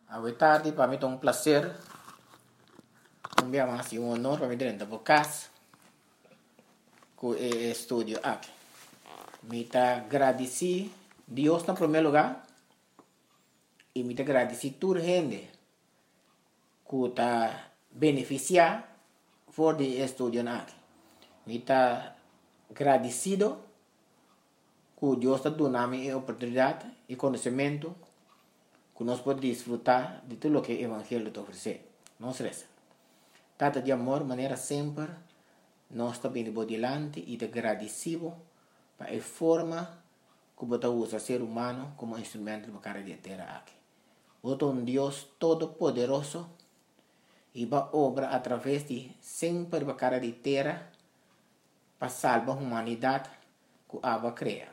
Awe tardi pa mi ta un placer un bia mas y un honor pa mi drenta bo cas cu e estudio aki. Mi ta gradici Dios na primer lugar y mi ta gradici tur hende cu ta beneficia for di e estudionan aki. Mi ta gradicido cu Dios ta duna mi e oportunidad y conocemento cu nos por disfruta di tur loke e evangelio ta ofrece. Nos reza. Tata di amor, manera semper nos ta bini bo dilanti y ta gradici bo pa e forma cu bo ta usa ser humano como instrumento riba cara di e tera aki. Bo ta un Dios todopoderoso y bo a obra a traves di semper riba cara di tera pa salba humanidat ku abo a krea.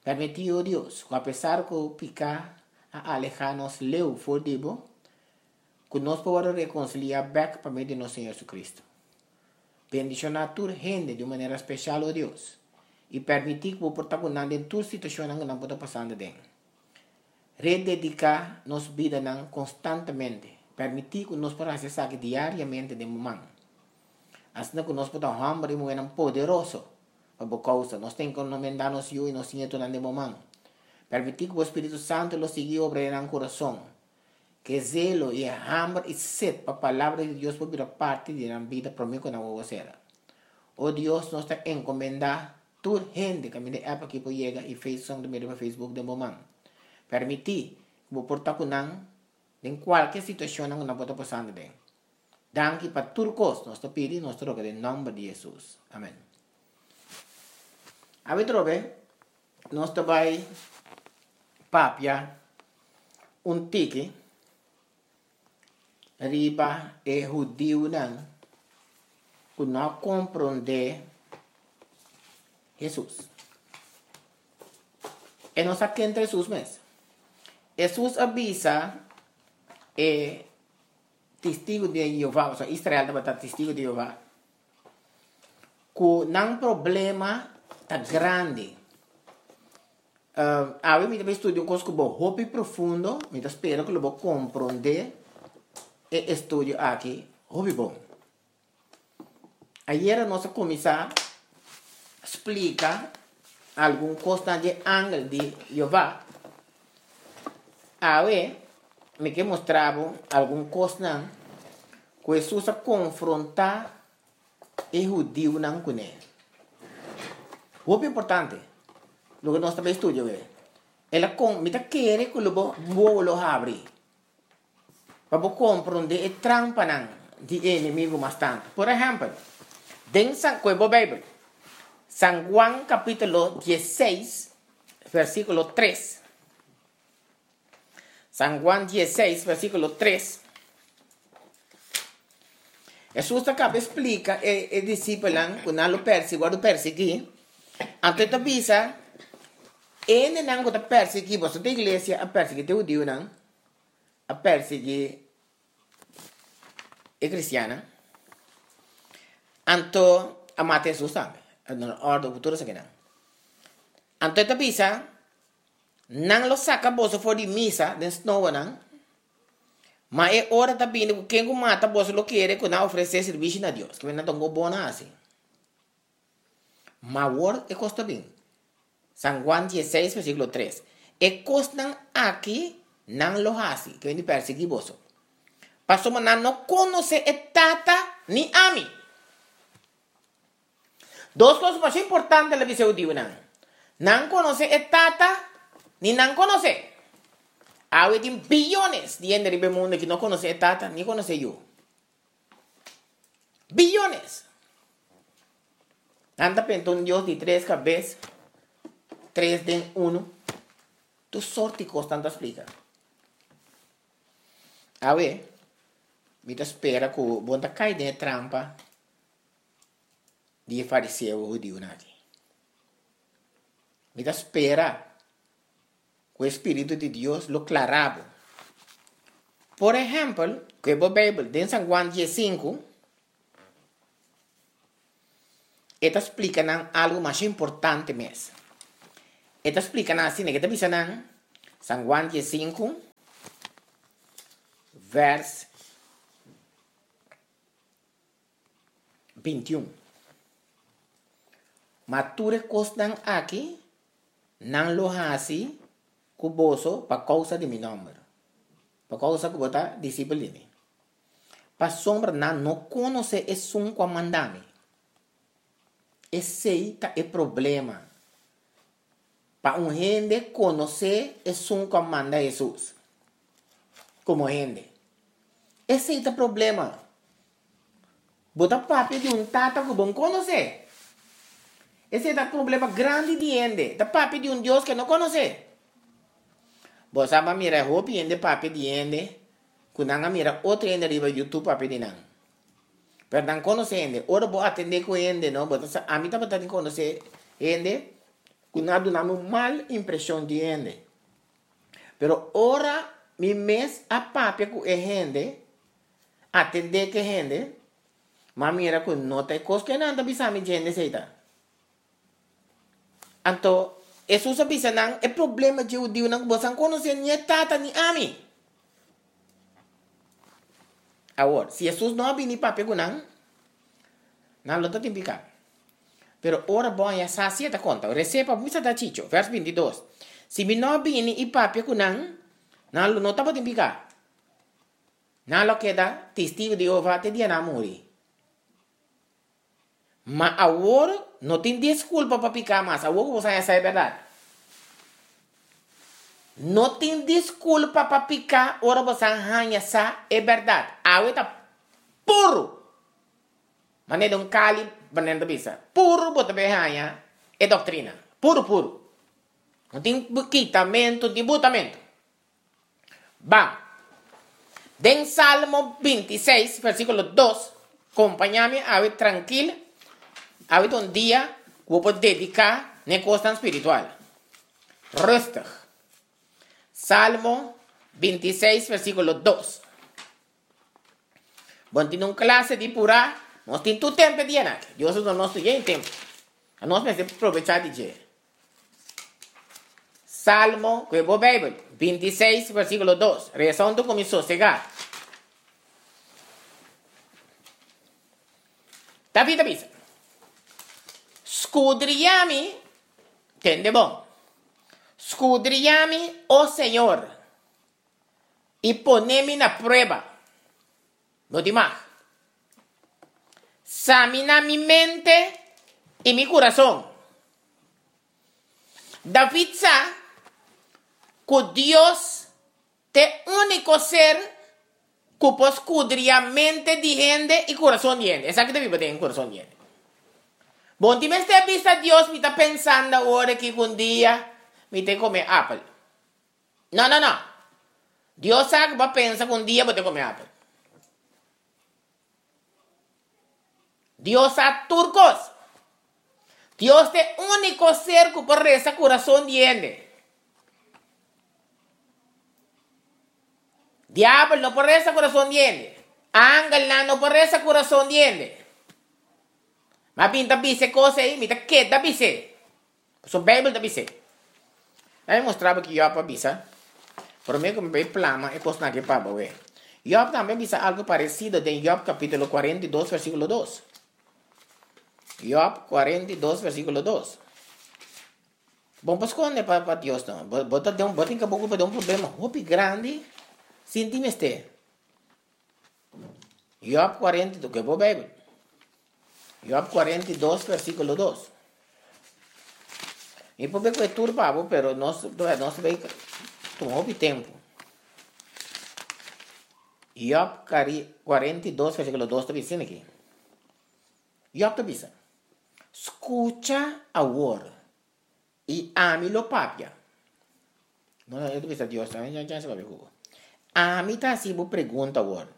Permití, o Dios, ku apesar ku piká a alehá nos leu for di bo, ku nos por wòrdu rekonsiliá bèk pa medio di nos Señor Jesucristo. Bendishoná tur hende di un manera speshal, o Dios, i permití ku bo por ta ku nan den tur situashonnan ku nan por ta pasando aden. Redediká nos bidanan konstantemente. Permití ku nos por hasi esaki diariamente den bo man. Asina ku nos por ta hòmber i muhénan poderoso pa bo kousa. Nos ta enkomendá nos yu i nos ñetunan den bo man. Permití ku bo spiritu santu lo sigui obra den nan kurason. Ku e zelo i e hamber i set pa Palabra di Dios por bira parti di nan bida promé ku nan wowo sera. O Dios, nos ta enkomendá tur hende kaminda e app aki por yega i Faith Song ta mira riba Facebook den bo man. Permití ku bo por ta ku nan den kualke situashonnan ku nan por ta pasando den. Danki pa tur kos nos ta pidi nos ta roga den nòmber di Hesus. Amen. Awe trobe nos ta bai papia un tiki riba e hudiunan ku no a komprondé Hesus. E no sa ken ta Hesus mes. Hesus a bisa e Testigu di Jehová, osea Israel tabata Testigu di Jehová, ku nan problema ta grandi. Awe mi ta bai studia un kos ku bo hopi profundo, mi ta spera ku lo bo komprondé e estudio aki hopi bon. Ayera nos a kuminsá splika algun kosnan di e angel di Jehová. Awe mi ke mustra bo algun kosnan ku Hesus a konfrontá e hudiunan kuné. Hopi importante loke nos ta bai studia awe. El a kon, mi ta kere ku lo bo wowo lo habri pa bo komprondé e trampanan di e enemigu mas tantu. Por ehèmpel, den San, koe bo Beibel, San Juan kapítulo diesseis, versíkulo tres. San Juan diesseis, versíkulo tres. Hesus ta kaba splika e, e disipelnan ku nan lo persi, wòrdu persiguí. Anto e ta bisa, Hendenan ku ta persiguí boso ta iglesia a persiguí te hudiunan, a persiguí e kristiannan. Anto a mata Hesus tambe. A duna òrdu ku tur esakinan. Anto e ta bisa, Nan lo saka boso for di misa den snoanan, ma e ora ta bini ku ken ku mata boso lo kere ku nan a ofresé sirbishi na Dios. Kimen nan ta un kos bon a hasi. Ma awor e kos ta bin. San Juan dieseis versíkulo tres, E kosnan aki nan lo hasi, ke bini persiguí boso, pasobra nan no konosé e Tata ni ami. Dos kos masha importante el a bisa e hudiunan, Nan konosé e Tata ni nan konosé. Awe tin biyones di hende riba e mundu ki no konosé e Tata ni konosé Yu. Biyones! Nan ta penta un Dios di tres kabes, tres den unu. Tur sort di kos nan ta splika. Awe, mi ta spera ku bo no ta kai den e trampa di e fariseo hudiunan aki. Mi ta spera ku e spiritu di Dios lo klará bo. Por ehèmpel, ku e bo Beibel den San Juan diesinku, e ta splika nan algu masha importante mes. E ta splika nan asina, e ta bisa nan, San Juan diesinku. Vers 21. Ma tur e kosnan aki nan lo hasi ku boso pa kousa di mi nòmber, pa kousa ku bo ta disipel di mi. Pasobra nan no konosé esun ku a manda mi. Esei ta e problema, pa un hende konosé esun ku a manda Hesus komo hende. Esei ta problema. Bo ta papia di un Tata ku bo no konosé. Esei ta problema grandi di hende, ta papia di un Dios ku e no konosé. Bo sa bo a mira hopi hende papia di hende ku nan a mira otro hende riba YouTube papia di nan. Pero nan konosé hende. Ora bo atendé ku hende no, bo ta sa, ami tabata tin konosé hende ku nan a duna mi un mal impreshon di hende. Pero ora mi mes a papia ku e hende, atendé ku e hende, mi a mira ku no ta e kos ku e nan ta bisa mi djende esei ta. Anto Hesus a bisa nan, E problema dje hudiunan ku boso a konosé ni e Tata ni ami. Awor, si Hesus no a bini papia ku nan, nan lo ta tin piká. Pero ora bo haña sa si e ta konta. Resé pa bo bisa ta chicho. Vèrs 22, Si mi no a bini i papia ku nan, nan lo no tabatin piká. Nan lo keda Testigu di Jehová te dia nan a muri. Ma awor no tin disculpa pa pica mas, awor cu bo sa esa e berdad. No tin disculpa pa pica ora bo sa haña sa e berdad. Awe ta puru, manera un cali manera ta bisa, puru bo ta bay haña e doctrina, puru puru. No tin kitamento, no tin butamento. Ban. Den Salmo 26, versíkulo 2, kompañá mi awe trankil, awe ta un dia ku bo por dediká na e kosnan spiritual. Rustig. Salmo 26, versíkulo 2. Bo tin un klase di purá, nos tin tur tempu e dianan aki. Dios a duna nos tur yen tempu. Nos mester probechá di dje. Salmo, ku e bo Beibel, 26, versíkulo 2. Resa huntu ku mi sosegá. David a bisa, Skudriá mi, tende bon, skudriá mi, o Señor, i pone mi na prueba. No di mag. Samina mi mente i mi kurason. David sa ku Dios ta e úniko ser ku por skudriá mente di hende i kurason di hende. Esaki ta biba den kurason di hende. Bon tin mester bisa Dios mi ta pensando awor aki ku un dia mi ta kome apel. No, no, no. Dios sa ku bo a pensa ku un dia bo ta kome apel. Dios sa tur kos. Dios ta e úniko ser ku por resa kurason di hende. Diabel no por resa kurason di hende. Angelnan no por resa kurason di hende. Mi a bin ta bisa e kos ei, mi ta keda bis'é. Pasobra Beibel ta bis'é. Laat mi mustra bo ki Jòb a bisa promé ku mi bai plama e kosnan aki pa bo. Jòb tambe a bisa algu paresido den Jòb kapítulo 42 versíkulo 2. Jòb 42 versíkulo 2. Bo no por skonde pa pa Dios no. Bo bo ta den bo tin kaba ocupa den un problema hopi grandi sin tin mester. Jòb 42, ke bo Beibel. Jòb 42 versíkulo 2. Mi por be ku e tur pa bo, pero nos nos ta bai tuma hopi tempu. Jòb 42 versíkulo 2 ta bisa asina aki. Jòb ta bisa, Skucha awor, i ami lo papia. No, no, e ta bisa Dios, ami no chance papia ku bo. Ami ta hasi bo pregunta awor,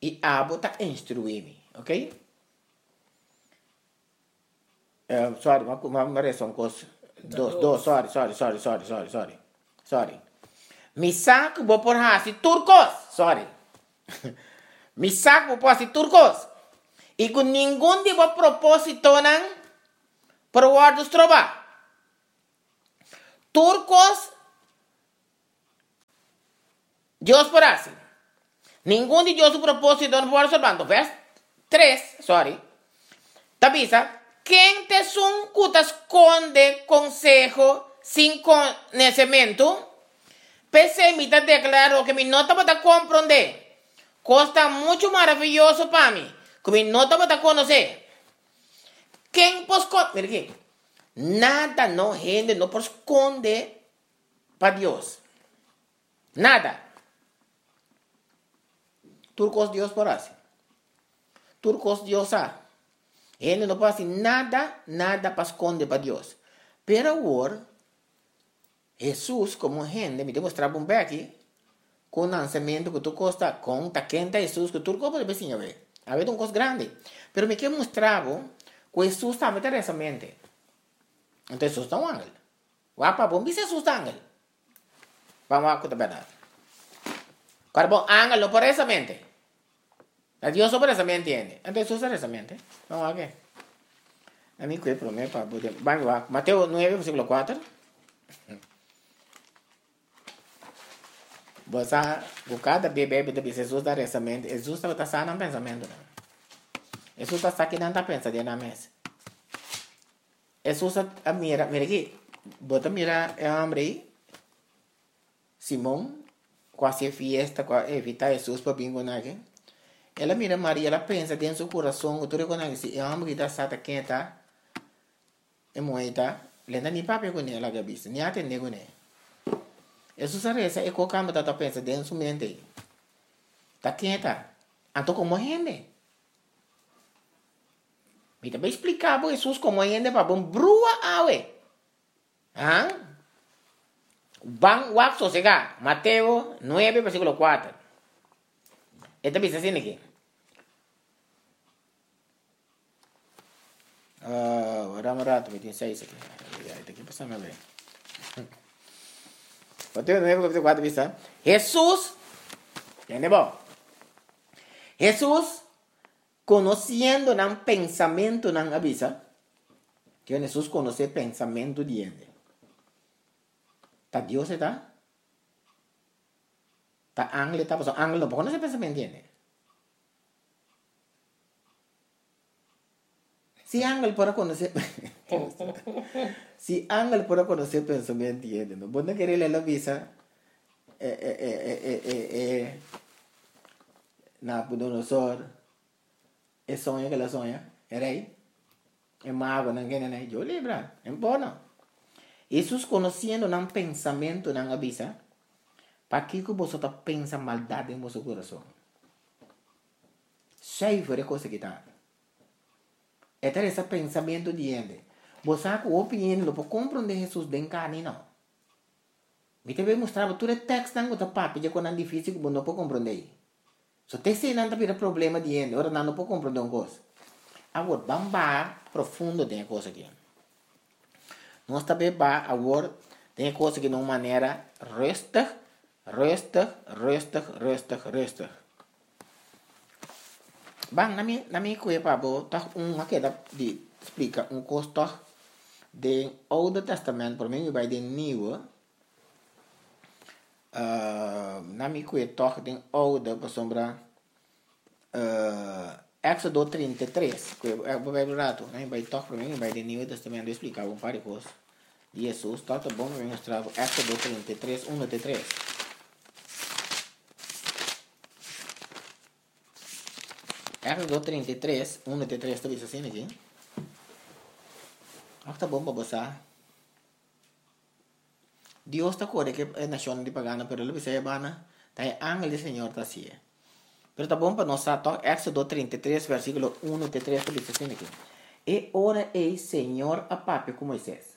i abo ta instruí mi, ok? Uh, sorry, ma, ma, ma resta un kos. Dos, dos, sorry, sorry, sorry, sorry, sorry, sorry. Sorry. Mi sa ku bo por hasi tur kos. Sorry. Mi sa ku bo por hasi tur kos. I ku ningun di bo propósitonan por wòrdu strobá. Tur kos. Dios por hasi. Ningun di Dios su propósito no por wòrdu stroba. Anto vèrs tres, sòri, ta bisa, Ken ta esun ku ta skonde konseho sin konesementu? P'esei mi ta deklará loke mi no tabata komprondé. Kos ta muchu maraviyoso pa mi, ku mi no tabata konosé. Ken por skonde? Mira aki, nada no hende no por skonde pa Dios. Nada. Tur kos Dios por hasi. Tur kos Dios sa. Hende no por hasi nada, nada pa skonde pa Dios. Pero awor, Hesus komo hende, mi ta mustra bo un beki, ku nansamentu, ku tur kos ta, kon ta ken ta Hesus, ku tur kos bo debe siña awe. Awe ta un kos grandi. Pero mi ke mustra bo ku Hesus tambe ta resa mente. Anto Hesus ta un angel. Wak pa bo bisa Hesus ta angel. Ban wak ku ta bèrdat. Kòrda bo angel no por resa mente. Ta Dios so por resa mente hende. Anto Hesus ta resa mente. Ban wak e. A mi kue promé pa bo den. Ban wak. Mateo nuebe versíkulo kuater. Bo sa ku kada bia Beibel ta bisa Hesus ta resa mente. Hesus tabata sa nan pensamentunan. Hesus ta sa kinan ta pensa den nan mes. Hesus a mira, mira aki, bo ta mira e homber ei, Simon, ku a hasi e fiesta, ku a invitá Hesus pa bin ku nan aki. El a mira Maria, el a pensa den su kurason ku tur e kosnan aki, si e homber aki ta sa ta ken e ta, e muhé ei ta, lo e ta ni papia kuné, el a bisa, ni atendé kuné. Hesus a resa e kos ku tabata pensa den su mente ei, ta ken e ta, anto komo hende. Mi ta bay splica bo Hesus como hende pa bo brua awe. Ha? Ban wak sosega. Mateo 9 versiculo 4. E ta bisa asina aki. Uh, wara un rato, mi tin 6 aki. Ya, ita ki pasa na bay. Mateo 9 capítulo 4 bisa, Hesus, tende bo. Hesus Konosiendo nan pensamentunan a bisa, Kion Hesus konosé pensamentu di hende? Ta Dios e ta? Ta angel e ta? Pasobra angel no por konosé pensamentu di hende. Si angel por a konosé Si angel por a konosé pensamentu di hende, no bo no kere lei lo bisa e e e e e e Nabucodonosor e soño ku el a soña, e rei, e magonan kende nan, yo libra, e por no. Hesus konosiendo nan pensamentunan a bisa, Pakiko boso ta pensa maldat den boso kurason? Suiver e kos aki ta. E ta resa pensamentu di hende. Bo sa ku hopi hende no por komprondé Hesus den karni no. Mi ta bay mustra bo tur e tekstnan ku ta papia dje konan difisil ku bo no por komprondé. So te eseinan ta bira problema di hende ora nan no por komprondé un kos. Awor, ban baha profundo den e kos aki. Nos ta bay baha awor den e kos aki na un manera rustig, rustig, rustig, rustig, rustig. Ban, na mi, na mi kue pa bo tòg un a keda di splika un kos tòg den Oude Testament, promé mi bai den Nieuwe. Na mi kue tòg den Oude pasobra Éxodo 33, kue bo bai un ratu, na mi bai tòg promé mi bai den Nieuwe Testament lo splika bo un par di kos di Hesus, tòg ta bon pa mi mustra bo Éxodo 33, uno te tres. Éxodo 33, 1 te 3 ta bisa asina aki. Òf ta bon pa bo sa. Dios ta kore ku e nashonnan di pagano, pero lo bisa e bana, ta e angel di Señor ta hasié. Pero ta bon pa nos sa tòg Éxodo 33, versíkulo 1 te 3 ta bisa asina aki. E ora ei Señor a papia ku Moisés.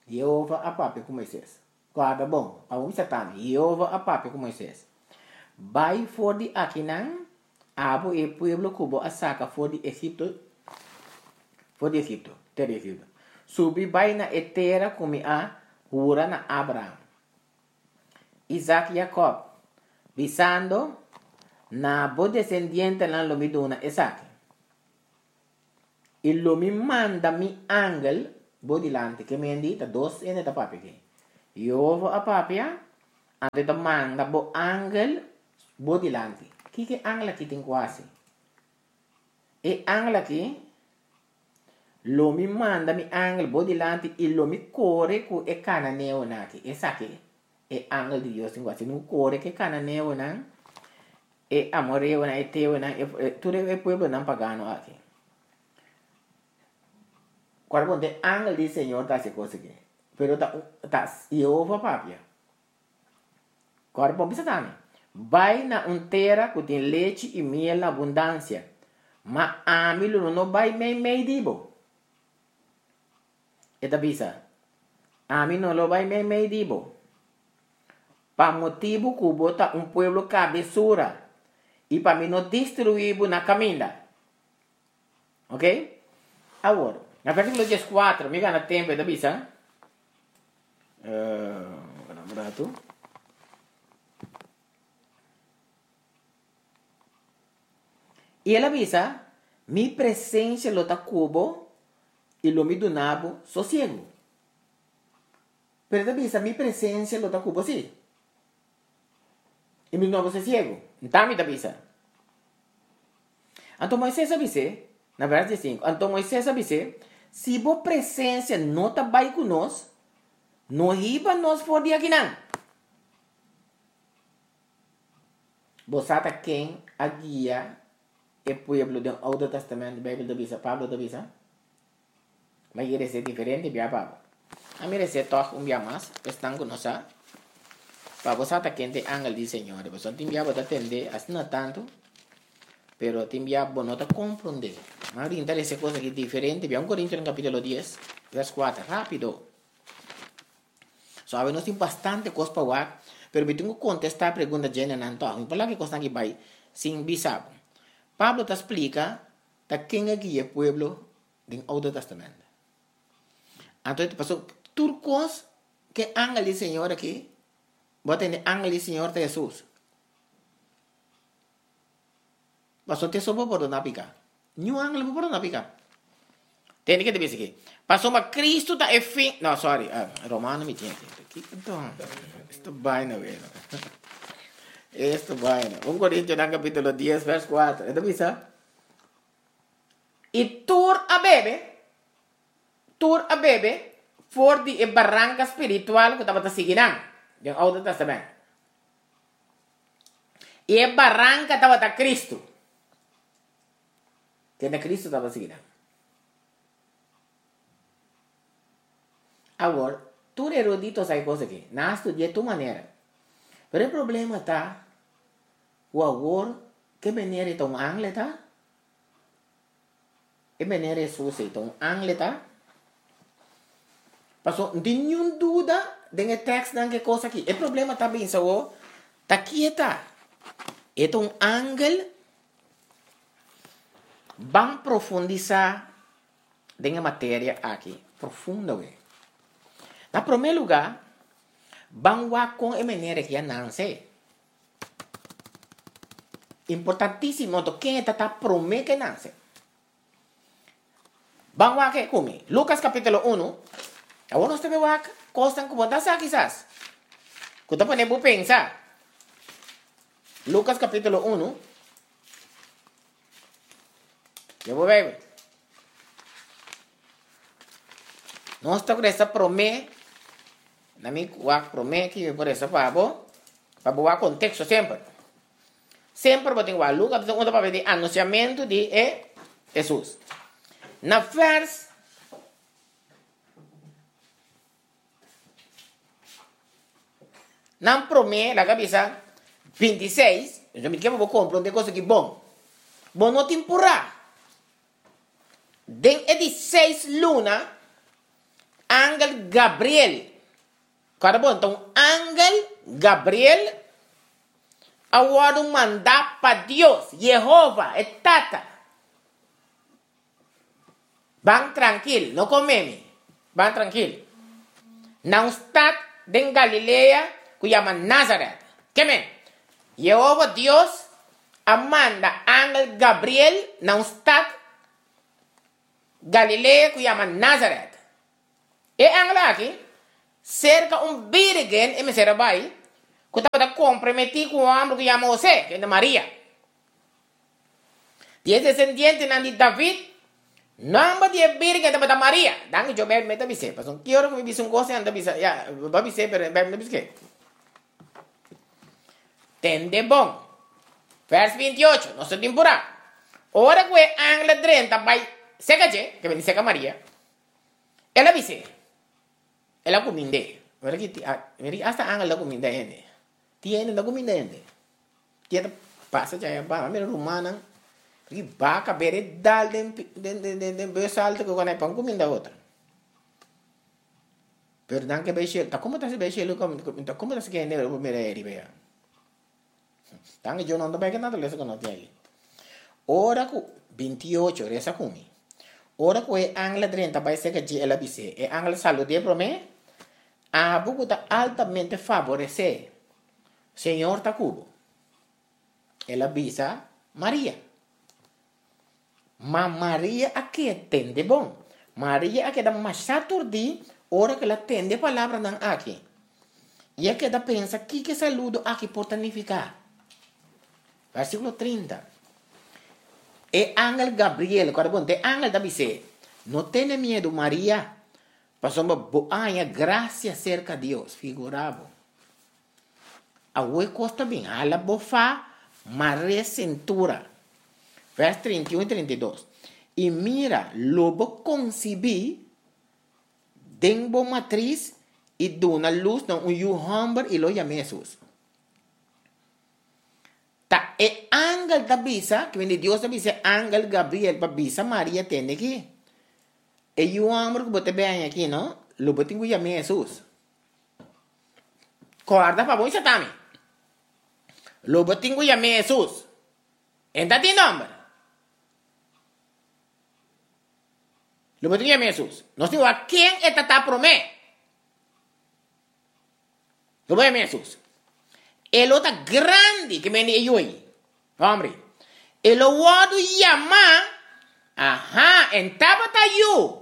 Yehova a papia ku Moisés. Guarda bon, pa bo bisa tambe, Yehova a papia ku Moisés, Bai for di akinan, abo i e pueblo ku bo a saka for di Egipto, for di Egipto, tera di Egipto. Subi bai na e tera ku mi a hura na Abraham, Isak i Yakòb, bisando, Na bo desendientenan lo mi duna esaki. I lo mi manda mi angel bo dilanti. Ke men di ta dos hende ta papia aki. Yehova a papia, Anto e ta manda bo angel bo dilanti. Kiko e angel aki tin ku hasi? E angel aki, Lo mi manda mi angel bo dilanti i lo mi kore ku e kananeonan aki. Esaki e angel di Dios tin ku hasi. Tin ku kore ku e kananeonan, e amoreonan, e heteonan, e tur e pueblonan pagano aki. Kòrda bon, ta e angel di Señor ta hasi e kos aki. Pero ta ta Yehova papia. Kòrda bon, bisa tambe, Bai na un tera ku tin lechi i miel na abundansia, ma ami lo no bai meimei di bo. E ta bisa, Ami no lo bai meimei di bo, pa motibu ku bo ta un pueblo kabesura i pa mi no destruí bo na kaminda. Ok? Awor, na versíkulo dieskuater, mi gana tempu, e ta bisa, Uh, un ratu. I el a bisa, Mi presensia lo ta ku bo i lo mi duna bo sosiegu. Pero e ta bisa, Mi presensia lo ta ku bo, sí. I mi duna bo sosiegu. Nta mi ta bisa. Anto Moisés a bis'é, na vèrs diesinku, anto Moisés a bis'é, Si bo presensia no ta bai ku nos, no hiba nos for di akinan. Bo sa ta ken a guia e pueblo den Oudo Tèstamènt, Beibel ta bisa, Pablo ta bisa? M'a yera esei diferente bia pa bo. A mira esei tòg un bia mas, pa esnan ku no sa, pa bo sa ta ken ta e angel di Señor. Pasobra tin bia bo ta tende asina tantu, pero tin bia bo no ta komprondé. M'a rinta lesa e kos aki diferente bia. Un Korintionan kapítulo dies, vèrs kuater, rápido. So awe nos tin bastante kos pa wak, pero mi tin ku kontestá pregunta dje nan tòg. Mi por laga e kosnan aki bai sin bisa bo. Pablo ta splika ta ken a guia e pueblo den Oudo Testament. Anto e paso tur kos ke angel di Señor aki, bo a tende angel di Señor ta Hesus. Paso te so por pordona pika. Niun angel no por pordona pika. Tende ke ta bisa aki. Pasobra Cristo ta e fin, no sorry, Romano mi tin aki. Kiko don? Esto baina weno. Esto baina. Un Korintionan kapitulo dies vers kuater. E ta bisa. I tur a bebe, tur a bebe for di e baranka spiritual ku tabata sigui nan, den Oude Testament. I e baranka tabata Kristu. Kende Kristu tabata sigui nan. Awor, tur erudito sa e kos aki. Nan a studi'é tur manera. Pero e problema ta ku awor ke manera e ta un angle ta? E manera Hesus ei ta un angle ta? Paso no tin niun duda den e tèkstnan ku e kos aki. E problema ta binsa awor ta kieta. E ta un angel? Ban profundisá den e materia aki profundo we. Na promé lugá, ban wak kon e manera aki a nanse. Importantísimo anto ken e ta ta promé ke nase. Ban wak e ku mi. Lucas capítulo uno. Awor nos ta be wak kosnan ku bo ta sa kisas. Ku ta pone bo pensa. Lucas capítulo uno. Lei bo Bijbel. Nos ta resa promé, na mi wak promé ki mi por resa pa bo, pa bo wak konteksto semper. Semper bo tin wak Lucas ta un papia di anunsiamentu di e Hesus. Na vers Nan promé, laga bisa, bintiseis, mi ke pa bo komprondé kos aki bon. Bo no tin purá. Den e di seis luna, angel Gabriel, kòrda bon, ta un angel Gabriel a wòrdu mandá pa Dios, Yehova, e Tata. Ban trankil, no kome mi. Ban trankil. Na un stat den Galilea ku yama Nazaret. Ke men? Yehova Dios a manda angel Gabriel na un stat Galilea ku yama Nazaret. E angel aki, serka un birigen e mester a bai. ku tabata komprometí ku un hòmber ku yama Hosé, kende Maria. Di e desendientenan di David, nòmber di e bírgen tabata Maria. Danki Djo, Beibel ta bis'é. Pasobra ki ora ku mi bisa un kos, nan ta bisa, ya, bo a bis'é, pero Beibel no bisa ke. Tende bon. Vers 28, nos ta tin purá. Ora ku e angel a drenta bai seka dje, ke bini seka Maria, el a bis'é, el a kumind'é. Mira ki, mira ki asta angel ta kuminda hende. Tin hende no ta kuminda hende. Tin hende ta pasa djaya ba, mira rumannan, ki baka bere dal den den den den bus alto ku konai pa un kuminda otro. Pero nan ke bai shelu, ta komo ta bai shelu ta komo ta hende bo mira e riba ya. Tan ke yo no ta bai ke naturalesa ku no tin aki. Ora ku 28 resa ku mi. Ora ku e angel a drenta bai serka dje el a bis'é. E angel a salud'é promé, Abo ku ta altamente faboresé, Señor ta ku bo. El a bisa Maria. Ma Maria a keda tende bon. Maria a keda masha turdí ora ku el a tende e palabranan aki. I a keda pensa kiko e saludo aki por ta nifiká. Versíkulo 30. E angel Gabriel, kòrda bon, e angel ta bis'é, No tene miedu, Maria, pasobra bo a haña grasia serka Dios. Figurá bo. Awe kos ta bin hala bo fa mare sintura. Vers 31 i 32. I mira, lo bo konsibí den bo matris i duna lus na un yu hòmber i lo yam'é Hesus. Ta e angel ta bisa, kimente Dios ta bisa e angel Gabriel pa bisa Maria, tende aki, e yu hòmber ku bo ta bini aki no, lo bo tin ku yam'é Hesus. Kòrda pa bo i satami. Lo bo tin ku yam'é Hesus. E ta tin nòmber. Lo bo tin ku yam'é Hesus. Nos tin wak ken e ta ta promé. Lo bo yam'é Hesus. E lo ta grandi ke mende e yu ei. Hombre. E lo wòrdu yamá, aha, en tabata yu.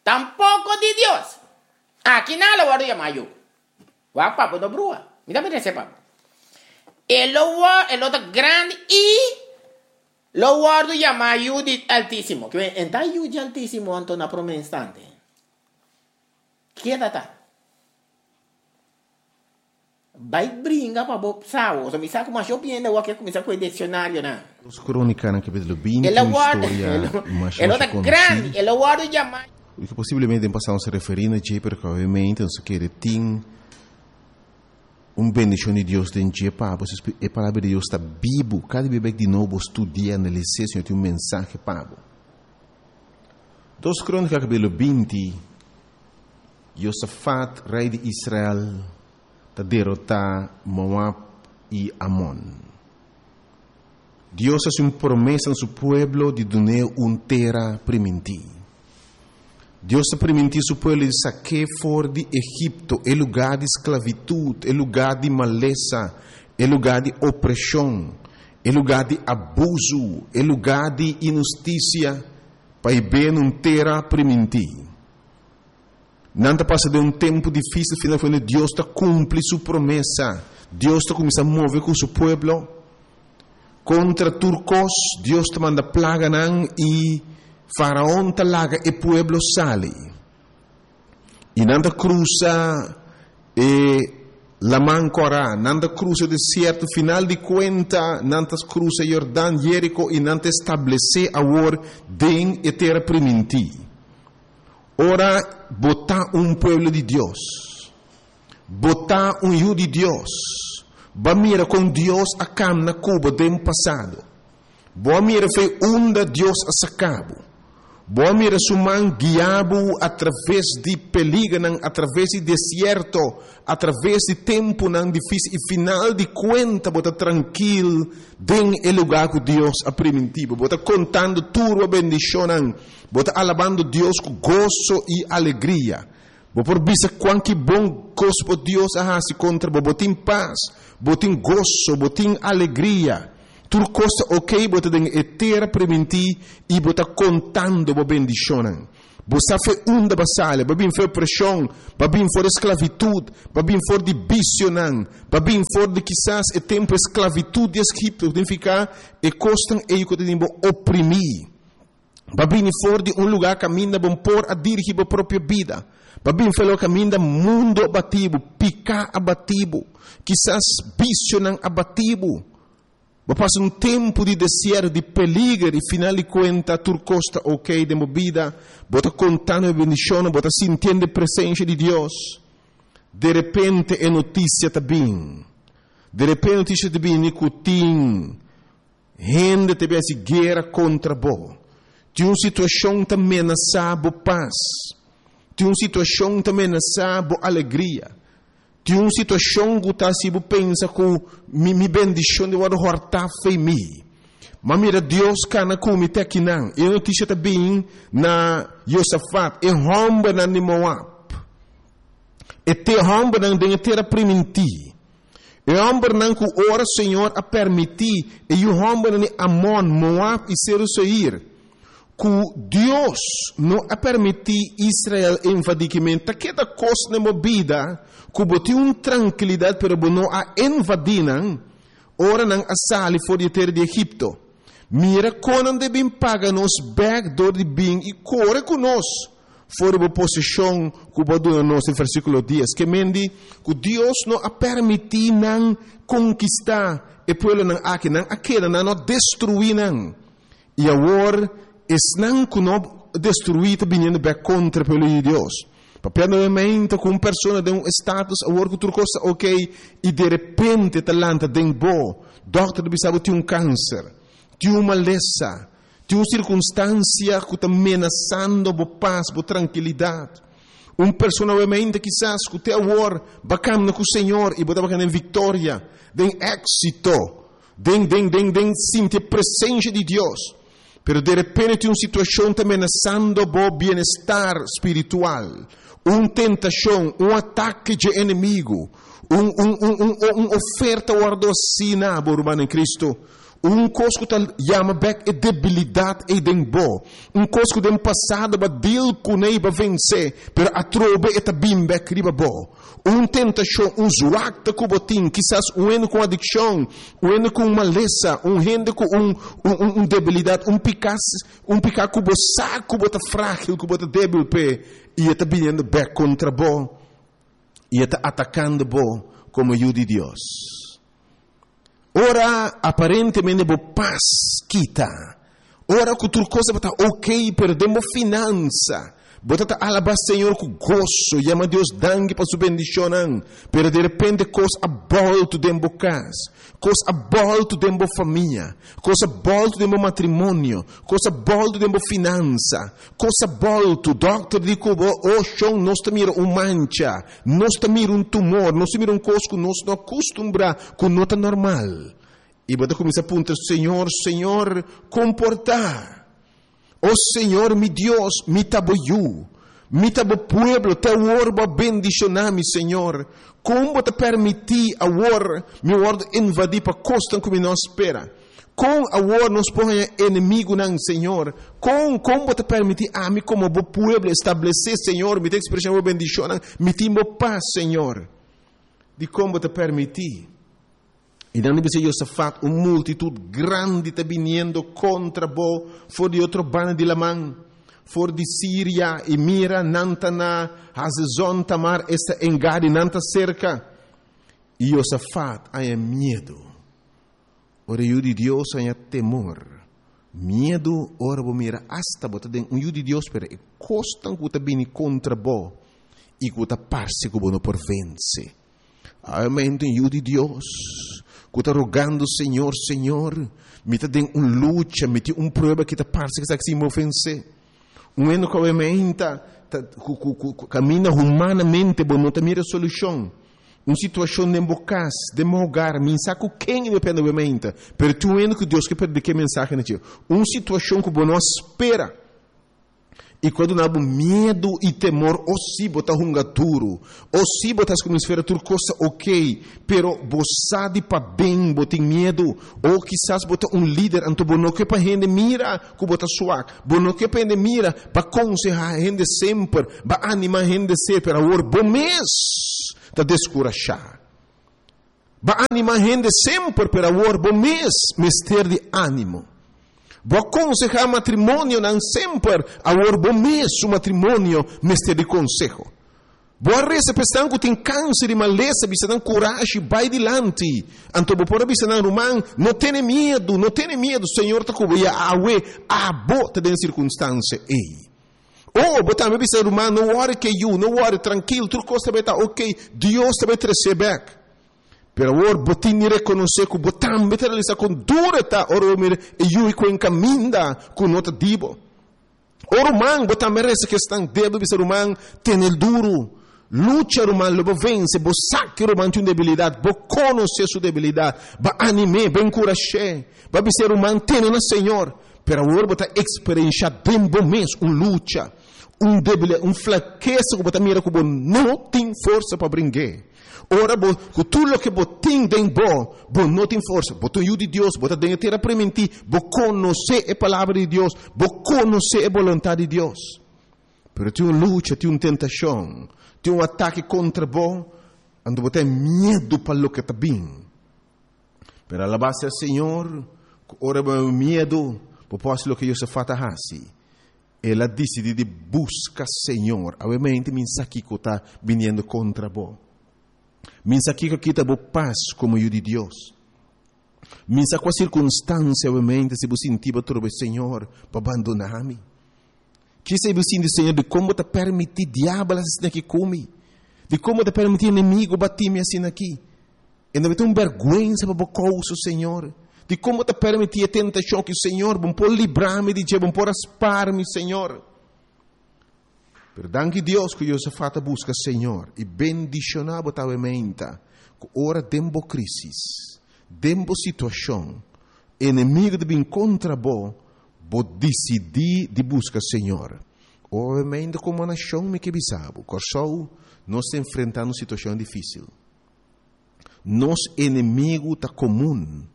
Tampoko di Dios. Aki nan lo wòrdu yamá yu. Wak papu no brua. Mi ta mira esei papu. E lo wòrdu, e lo ta grandi i lo wòrdu yamá yu di Altísimo. Ke men, ta yu di Altísimo anto na promé instante. Keda ta. Bai bringa pa bo sa bo. So mi sa ku masha hopi hende awor ke kuminsá ku e dikshonarionan. Dos Krónikanan kapítulo 20, El a un wòrdu, historia masha e lo masha ta konosí. grandi, e lo wòrdu yamá. I ku posiblemente den pasado nos a referí na dje, pero ku awemente nos a kere tin un bendishon di Dios den dje pa bo. E Palabra di Dios ta bibu. Kada bia bek di nobo bo studi'é, analis'é, Señor tin un mensahe pa bo. Dos Krónika kapítulo 20, Josafat, rei di Israel, ta derotá Moab i Amon. Dios a hasi un promesa na su pueblo di dun'é un tera primintí. Dios a primintí su pueblo di sak'é for di Egipto, e lugá di sklavitut, e lugá di malesa, e lugá di opreshon, e lugá di abusu, e lugá di inhustisia, pa e b'é na un tera primintí. Nan ta pasa den un tempu difísil, finalmente Dios ta kumpli su promesa. Dios ta kuminsá move ku su pueblo. Kontra tur kos, Dios ta manda plaganan i Faraon ta laga e pueblo sali. I nan ta krusa e Laman Kòrá, nan ta krusa e desierto, final di kuenta nan ta krusa Yordan, Jeriko, i nan ta establesé awor den e tera primintí. Ora bo ta un pueblo di Dios, bo ta un yu di Dios, bo a mira kon Dios a kamna ku bo den pasado. Bo a mira fe unda Dios a saka bo. Bo a mira su man guia bo atraves di peligernan, atraves di desierto, atraves di tempunan difísil i final di kuenta bo ta trankil den e lugá ku Dios a primintí bo. Bo ta kontando tur bo bendishonnan. Bo ta alabando Dios ku goso i alegria. Bo por bisa kuanki bon kos bo Dios a hasi kontra bo. Bo tin pas, bo tin goso, bo tin alegria. Tur kos ta okey, bo ta den e tera primintí i bo ta kontando bo bendishonnan. Bo sa fo'i unda bo a sali, bo a bin for opreshon, bo a bin for di sklavitut, bo a bin for di bisionan, bo a bin for di kisas e tempu e sklavitut di Egipto, ku signifiká e kosnan ei ku ta tene bo oprimí. Bo a bini for di un lugá kaminda bo por a dirigí bo propio bida. Bo a bin for e kaminda mundu a bati bo, piká a bati bo, kisas bisionan a bati bo. Bo pasa un tempu di desierto, di peliger i final di kuenta tur kos ta ok den bo bida, bo ta kontando e bendishonnan, bo ta sintiendo e presensia di Dios. De repente e notisia ta bin. De repente e notisia ta bini ku tin hende ta bin hasi guera kontra bo. Tin un situashon ta menasá bo pas. Tin un situashon ta menasá bo alegria. Tin un situashon ku ta hasi bo pensa ku mi mi bendishon di wòrdu hòrtá fei mi. M'a mira Dios kana ku mi te akinan. E notisia ta bin na Josafat, e hòmbernan di Moab. E te hòmbernan den e tera primintí. E hòmbernan ku ora Señor a permití e yu hòmbernan di Amon, Moab i Seru Seir, ku Dios no a permití Israel invadí ki men ta keda kos den bo bida ku bo tin un trankilidat pero bo no a invadí nan ora nan a sali for di e tera di Egipto. Mira kon nan debin paga nos bèk dor di bin i kore ku nos for di bo poseshon ku bo a duna nos den versíkulo dies. Ke men di ku Dios no a permití nan konkistá e pueblonan aki, nan a keda, nan no a destruí nan. I awor esnan ku no destruí ta biniendo bèk kontra e pueblo di Dios. Papia nuevamente ku un persona den un estatus awor ku tur kos ta ok i derepente ta lanta den bo. Dòkter ta bisa bo tin un kanser, tin un malesa, tin un sirkunstansia ku ta menasando bo pas, bo trankilidat. Un persona nuevamente kisas ku te awor ba kamna ku Señor i bo tabata den viktoria, den éksito. Den, den, den, den sinti e presencia di Dios. Pero de repente tin un situacion ta menasando bo bienestar spiritual. Un tentacion, un atake dje enemigo, un, un, un, un, un oferta wordo haci na bo, ruman en Cristo. Un cos cu ta yama bek e debilidad ey den bo. Un cos cu den pasado bo a deal cune y bo a vence, pero atrobe e ta bin bek riba bo. Un tentashon, un zwakte ku bo tin, kisas un hende ku un adikshon, un hende ku un malesa, un hende ku un, un, un debilidat, un piká, un piká ku bo sa ku bo ta frágil, ku bo ta débil p'e, i e ta biniendo bèk kontra bo, i e ta atakando bo komo yu di Dios. Ora aparentemente bo pas kita, ora ku tur kos tabata ok, pero den bo finansa, bo ta ta alabá Señor ku goso, yama Dios danki pa su bendishonnan, pero derepente kos a bòltu den bo kas, kos a bòltu den bo famia, kos a bòltu den bo matrimonio, kos a bòltu den bo finansa, kos a bòltu, dòkter di ku bo, oh shon, nos ta mira un mancha, Nos ta mira un tumor, nos ta mira un kos ku nos no a kustumbrá, ku no ta normal. I bo ta kuminsá puntra, Señor, Señor, kon por ta? O Señor mi Dios, mi ta bo yu, mi ta bo pueblo, te awor bo a bendishoná mi, Señor. Kon bo ta permití awor mi wòrdu invadí pa kosnan ku mi no a spera? Kon awor nos por haña enemigunan, Señor? Kon, kon bo ta permití ami komo bo pueblo establesé, Señor? Mi ta ekspresá bo bendishonnan, mi tin bo pas, Señor. Dikon bo ta permití? I nan a bisa Josafat, Un multitut grandi ta biniendo kontra bo for di otro banda di laman, for di Siria, i mira, nan ta na Hazezon Tamar, esta En-Gadi, nan ta serka. I Josafat a haña miedu. Ora e yu di Dios haña temor, miedu, ora bo mira asta bo ta den un yu di Dios, pero e kosnan ku ta bini kontra bo i ku ta parse ku bo no por vense. Awe un yu di Dios ku ta rogando, Señor, Señor, mi ta den un lucha, mi tin un prueba ki ta parse ku esaki sin bo vense. Un hende ku awe ta, ta, ku, ku, ku kaminda humanamente bo no ta mira solushon. Un situashon den bo kas, den bo hogar, mi sa ku ken i depende bo meinta, pero tin un hende ku Dios ke prediká e mensahe na dje. Un situashon ku bo no a spera. I ku a duna bo miedu i temor, o si bo ta hunga duru, o si bo ta hasi ku misfera tur kos ta okey, pero bo sa di paden bo tin miedu, o kisas bo ta un lider anto bo no ke pa hende mira ku bo ta swak, bo no ke pa hende mira, bo a konsehá hende semper, bo a animá hende semper, awor bo mes ta deskurashá. Bo a animá hende semper, pero awor bo mes mester di ánimo. Bo a konsehá matrimonionan semper, awor bo mes su matrimonio mester di konseho. Bo a resa pa esnan ku tin kanser i malesa, bisa nan kurashi, bai dilanti. Anto bo por a bisa nan, Ruman, no tene miedu, no tene miedu, Señor ta ku bo, ya awe abo ta den sirkunstansia ei. Oh, bo tambe bisa, Ruman, no wòri ke yu, no wòri, trankil, tur kos ta bai ta okey, Dios ta bai tres'é bèk. Pero awor bo tin di rekonosé ku bo tambe ta realisá kon duru e ta ora bo mira e yu i ku e kaminda ku no ta di bo. O ruman, bo tambe resa ku esnan débil, bisa, Ruman, tene duru. Lucha, ruman, lo bo vense. Bo sa ku e ruman tin un debilidat, bo konosé su debilidat. Bo anim'é, bo enkurash'é. Bo a bisa e ruman, Tene na Señor. Pero awor bo ta eksperenshá den bo mes un lucha, un debilidat, un flakesa ku bo ta mira ku bo no tin forsa pa bring'é. Ora bo, ku tur loke bo tin den bo, bo no tin forsa. Bo ta un yu di Dios, bo ta den e tera primintí, bo konosé e Palabra di Dios, bo konosé e boluntat di Dios. Pero tin un lucha, tin un tentashon, tin un atake kontra bo, anto bo ta miedu pa loke ta bin. Pero alabá sea Señor, ku ora bo haña miedu, bo por hasi loke Josafat a hasi. El a disidí di buska Señor. Awemente mi sa kiko ta biniendo kontra bo. Mi sa kiko a kita bo pas komo yu di Dios. Mi sa kua sirkunstansia awemente si bo sinti bo trobe Señor bo a bandoná mi. Kisa bo sinti Señor dikon bo ta permití diabel hasi asina aki ku mi? Dikon bo ta permití enemigo bati mi asina aki? E no ta un bèrgwensa pa bo kousa, Señor. Dikon bo ta permití e tentashon aki, Señor? Bo por libra mi di dje, bo por a spar mi, Señor. Pero danki Dios ku Josafat a buska Señor i bendishoná bo ta awe meinta ku ora den bo krísis, den bo situashon, enemigu ta bin kontra bo, bo disidí di buska Señor. Awe meinta komo nashon mi ke bisa bo, Kòrsou, nos ta enfrentá un situashon difísil. Nos enemigu ta komun.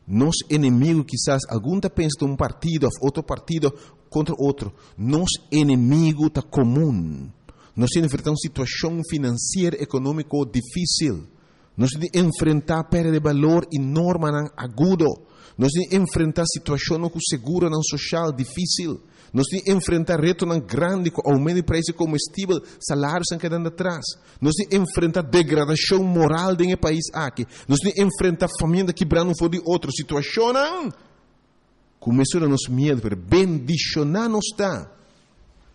Nos enemigu kisas algun ta pensa ta un partido òf otro partido kontra otro. Nos enemigu ta komun. Nos tin enfrentá un situashon finansiero ekonómiko difísil. Nos tin di enfrentá pèrdida di balor i normanan agudo. Nos tin di enfrentá situashonnan ku seguronan soshal difísil. Nos tin di enfrentá retonan grandi ku oumento di preis di komestibel, salarionan kedando atras. Nos tin enfrenta degradacion moral den e pais aki. Nos tin enfrenta famia ta kibrando un for di otro. Situacionnan cu mesura nos miedo, pero bendiciona nos ta.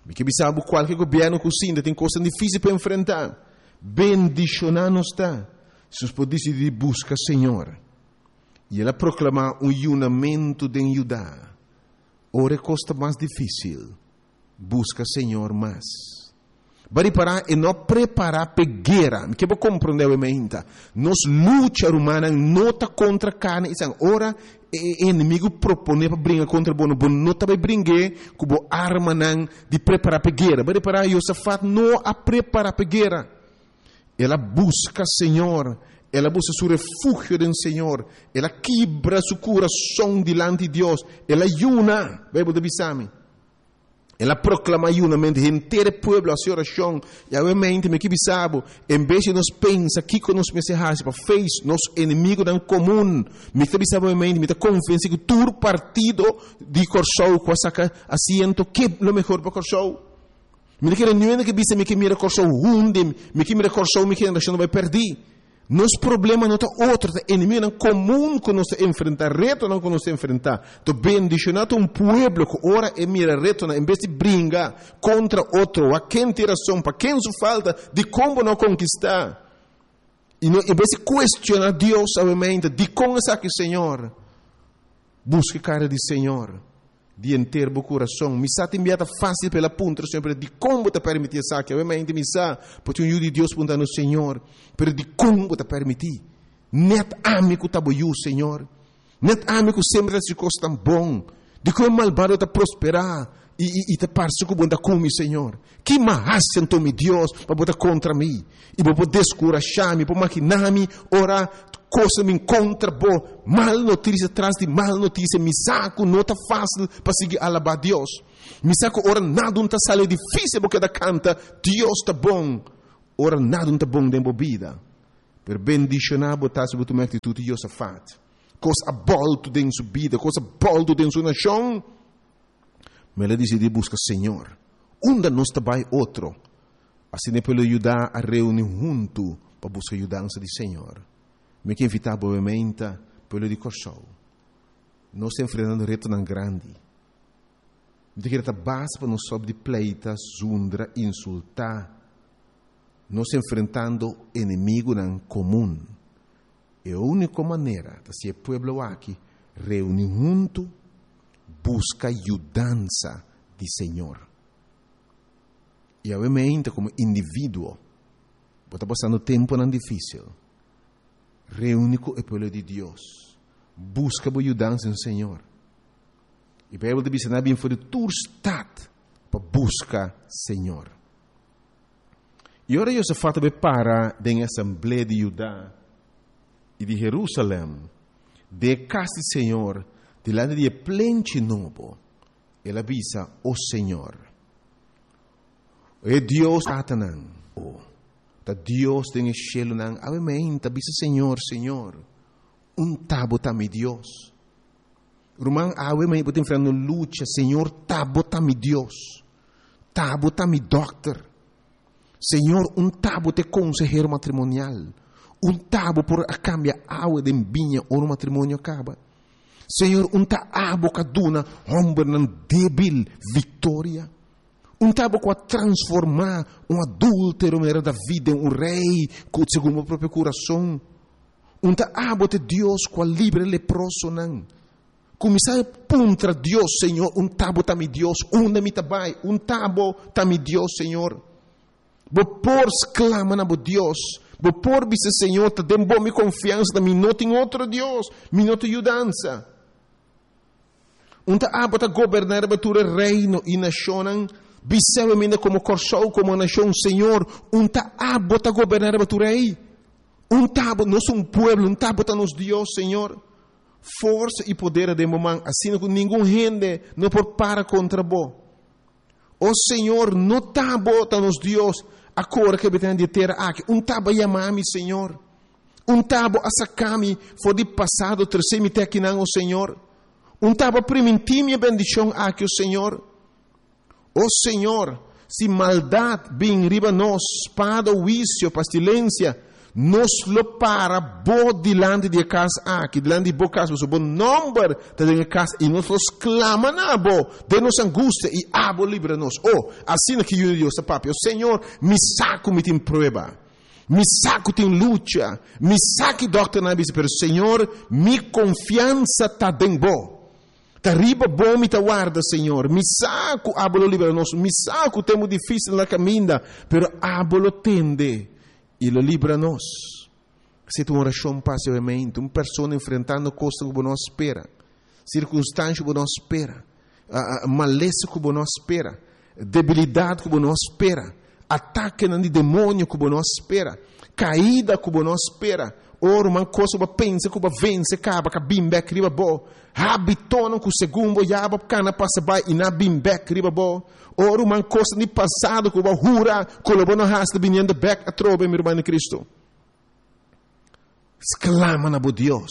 Mi ke bisa bo cualke gobierno cu sinta tin cosnan dificil pa enfrenta. Bendiciona nos ta. Si nos por dicidi di busca Señor. Y el a proclama un yunamento den Juda. Ora e cos ta mas dificil. Buska Señor mas. Bo a ripará, e no a prepará p'e guera. Mi ke bo komprondé awe mainta. Nos lucha, rumannan, no ta kontra karni i sanger. Ora e enemigu proponé pa bringa kontra bo, bo no ta bai bring'é ku bo armanan di prepará p'e guera. Bo a ripará, Josafat no a prepará p'e guera. El a buska Señor. El a buska su refugio den Señor. El a kibra su kurason dilanti Dios. El a yuna, Beibel ta bisa mi. El a proclama yunamente, henter e pueblo a haci oracion. Y awe mente mi ki bisa bo, en bes di nos pensa kico nos mester haci pa face nos enemigonan comun, mi ta bisa bo awe mente, mi ta convenci cu tur partido di Corsou cu a saca asiento ke lo mehor pa Corsou. Mi ta kere niun hende ke bisa mi ke mira Corsou hundi, mi ke mira Corsou mi generacion ta bay perdi. Nos problema no ta otro, ta enemigonan komun ku nos ta enfrentá, retonan ku nos ta enfrentá. To bendishoná ta un pueblo ku ora e mira retonan, en bes di bringa kontra otro, wak ken tin rason, pa ken su falta, dikon bo no a konkistá? I no, en bes di kuestioná Dios awemente, dikon esaki, Señor? Buska e kara di Señor. Di henter bo kurason. Mi sa tin bia ta fásil pa el a puntra Señor, pero dikon bo ta permití esaki? Obviamente mi sa, por tin un yu di Dios puntra nos, Señor, pero dikon bo ta permití? Nèt ami ku ta bo yu, Señor. Nèt ami ku semper ta hasi kos tan bon. Dikon e malbado ta prosperá? I, i, i ta parse ku bo no ta ku mi, Señor. Ki m'a hasi anto, mi Dios, pa bo ta kontra mi? I bo por deskurashá mi, por maginá mi ora kosnan bin kontra bo, mal notisia tras di mal notisia. Mi sa ku no ta fásil pa sigui alabá Dios. Mi sa ku ora nada un ta sali difísil bo keda kanta, Dios ta bon, ora nada un ta bon den bo bida. Pero bendishoná bo ta si bo tuma e aktitut di Josafat. Kos a bòltu den su bida, kos a bòltu den su nashon. Ma el a disidí buska Señor. Unda nos ta bai otro? Asina e pueblo di Judá a reuní huntu pa buska yudansa di Señor. Mi ke invitá bo meinta, pueblo di Kòrsou. Nos ta enfrentando retonan grandi. Mi ta kere ta basta pa nos stòp di pleita, zundra, insultá. Nos ta enfrentando enemigunan komun. E úniko manera ta si e pueblo aki reuní huntu, buska yudansa di Señor. I awe meinta komo individuo bo ta pasando tempunan difísil, reuní ku e pueblo di Dios, buska bo yudansa den Señor. E Beibel ta bisa nan a bin for di tur stat pa buska Señor. I ora Josafat a bai para den e asamblea di Judá i di Jerusalèm, den e kas di Señor, dilanti di e plenchi nobo, el a bisa, O Señor, e Dios tatanan, o ta Dios den e shelunan, awe meinta bisa Señor, Señor, un ta bo ta mi Dios. Ruman, awe mei bo ta enfrentando lucha, Señor, ta bo ta mi Dios. Ta bo ta mi dòkter. Señor, un ta bo ta e konsehero matrimonial. Un ta bo por a kambia awa den biña ora un matrimonio kaba. Señor, un ta abo ku a duna hòmbernan débil viktoria. Un ta abo ku a transformá un adúltero manera David den un rei ku segun bo propio kurason. Un ta abo ta e Dios ku a libra e leprosonan. Kuminsá e puntra Dios, Señor, un ta bo ta mi Dios? Unda mi ta bai? Un ta bo ta mi Dios, Señor? Bo por sklama na bo Dios. Bo por bisa, Señor, ta den bo mi konfiansa ta, mi no tin otro Dios, mi no tin yudansa. Un ta abo ta goberná riba tur e reino i nashonnan? Bis'é mi minda komo Kòrsou, komo nashon, Señor, un ta abo ta goberná riba tur ei? Un ta abo, nos un pueblo, un ta abo ta nos Dios, Señor? Forsa i poder a den bo man, asina ku ningun hende no por para kontra bo. O Señor, no ta bo ta nos Dios, a kore ku e habitantenan di e tera aki. Un ta bo a yama mi, Señor. Un ta bo a saka mi for di pasado, trese mi te akinan, o Señor. Un ta bo a primintí mi e bendishon aki, o Señor. O Señor, si maldat bin riba nos, spada, huisio, pastilensia, nos lo para bo dilanti di e kas aki, dilanti di bo kas, pasobra bo nòmber ta den e kas, i nos lo sklama na bo den nos angustia, i abo libra nos. O, asina ki Yu di Dios ta papia. O Señor, mi sa ku mi tin prueba. Mi sa ku tin lucha. Mi sa ki dòkternan a bisa, pero Señor, mi konfiansa ta den bo. Ta riba bo mi ta warda, Señor. Mi sa ku abo lo libra nos. Mi sa ku tempu difísil na kaminda, pero abo lo tende i lo libra nos. Esei ta un orashon pa hasi obviamente. Un persona enfrentando kosnan ku bo no a spera, sirkunstansha ku bo no a spera, malesa ku bo no a spera, debilidat ku bo no a spera, atakenan di demonio ku bo no a spera, kaida ku bo no a spera, o ruman kos ku bo a pensa ku bo a vense kaba ka bin bek riba bo, hábitonan ku segun bo ya bo kana pasa bai i na bin bek riba bo, o ruman kosnan di pasado ku bo a hura ku lo bo no hasi ta biniendo bek atrobe, mi ruman den Kristu. Sklama na bo Dios.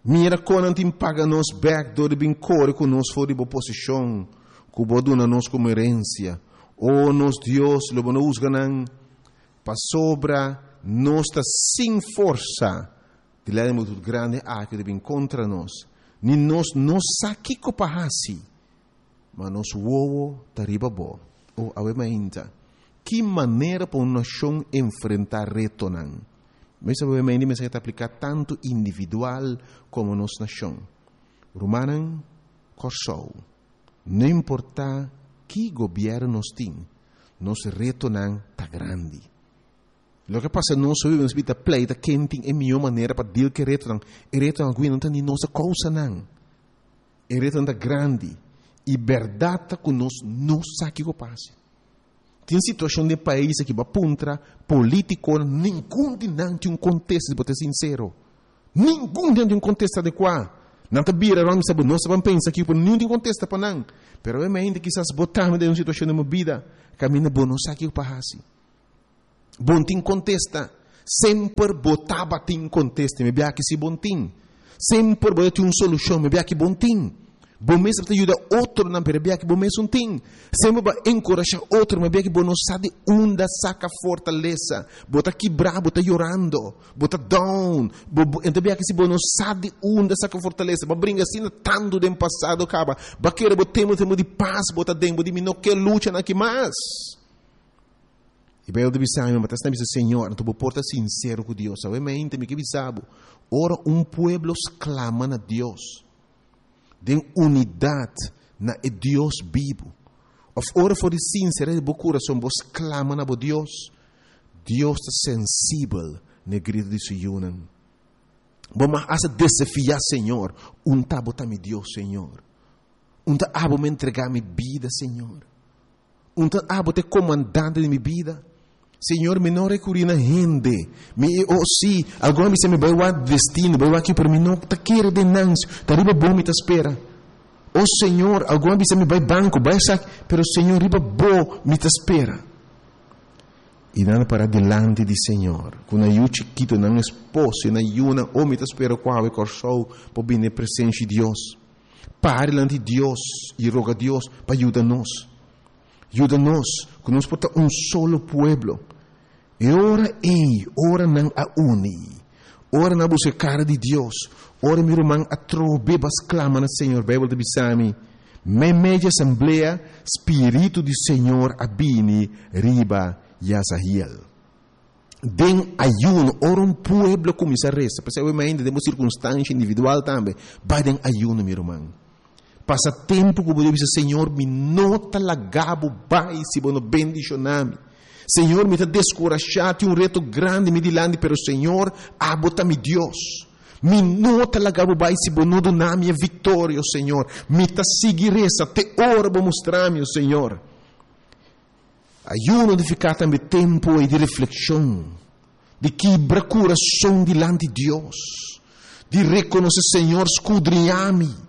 Mira kon nan tin paga nos bèk dor di bin kore ku nos for di bo posishon ku bo a duna nos komo herensia. O nos Dios, lo bo no husga nan? Pasobra nos ta sin forsa dilanti di multitut grandi aki di bin kontra nos, ni nos no sa kiko pa hasi, ma nos wowo ta riba bo. O awe mainta, ki manera pa un nashon enfrentá retonan! Mester papia mei di mensahe ta apliká tantu individual komo nos nashon. Rumannan Kòrsou, no importá ki gobièrnu nos tin, nos retonan ta grandi. Loke a pasa nos hopi bes ta pleita ken tin e mihó manera pa deal ku e retonan. E retonan ku no ta ni nos a kousa nan. E retonan ta grandi i bèrdat ta ku nos no sa kiko pasa. Tin situashon den pais aki bo a puntra politikonan, ningun di nan tin un kontesta si bo ta sinsero. Ningun di nan tin un kontesta adekuá. Nan ta bira rònt bisa bo no sa ban pensa aki pero niun tin kontesta pa nan. Pero awe mainta kisas bo tambe den un situashon den bo bida kaminda bo no sa kiko pa hasi. Bon tin kontesta. Semper bo tabatin kontesta. Mi biaha ki si bon tin. Semper bo ta tin un solushon. Mi biaha ki bon tin. Bo mes ta yuda otronan, pero e biaha ki bo mes un tin. Semper bo a enkurashá otro, mi biaha ki bo no sa di unda saka fortalesa. Bo ta kibrá, bo ta yorando, bo ta down. Bo, bo, enta biaha ki si bo no sa di unda saka fortalesa. Bo a bringa asina tantu den pasado kaba. Bo a kere bo tempu, tempu di pas bo ta den. Bo di mi no ke luchanan aki mas. E Bijbel ta bisa mi, ma ta bisa Señor, anto bo por ta sincero cu Dios. Awe mente mi ke bisa bo, ora un pueblo sclama na Dios, den unidad na e Dios bibu, of ora for di sinceridad di bo curason bo sclama na bo Dios, Dios ta sensibel na e grito di su yunan. Bo mag hasta desafia Señor, unta bo ta mi Dios, Señor. Unta abo mi entrega mi bida, Señor. Un ta abo ta e komandante di mi bida. Señor, mi no rekurí na hende. Mi, oh sí, algun a bisa mi bai wak destino, bai wak aki, pero mi no ta kere den nan. Ta riba bo mi ta spera. Oh Señor, algun a bisa mi bai banko, bai esaki, pero Señor, riba bo mi ta spera. I nan a para dilanti di Señor, ku nan yu chikitu, nan esposo i nan yunan. Oh, mi ta spera ku awe Kòrsou por bini e presensia di Dios. Para dilanti di Dios i roga Dios pa yuda nos. Yuda nos ku nos por ta un solo pueblo. E ora ei, ora nan a uni, ora nan a buska e kara di Dios, ora mi ruman atrobe ba sklama na Señor, Beibel ta bisa mi, Meimei di asamblea, spiritu di Señor a bini riba Yazahiel. Den ayuno, ora un pueblo kuminsá resa, p'esei awe mainta den bo sirkunstansha individual tambe, bai den ayuno, mi ruman. Pasa tempu ku bo debe bisa, Señor, mi no ta laga bo bai si bo no bendishoná mi. Señor, mi ta deskurashá, tin un reto grandi mi dilanti, pero Señor, abo ta mi Dios. Mi no ta laga bo bai si bo no duna mi e viktoria, o Señor. Mi ta sigui resa te ora bo mustra mi, o Señor. Ayuno nifiká tambe tempu ei di reflekshon, di kibra kurason dilanti Dios, di rekonosé, Señor, skudriñá mi.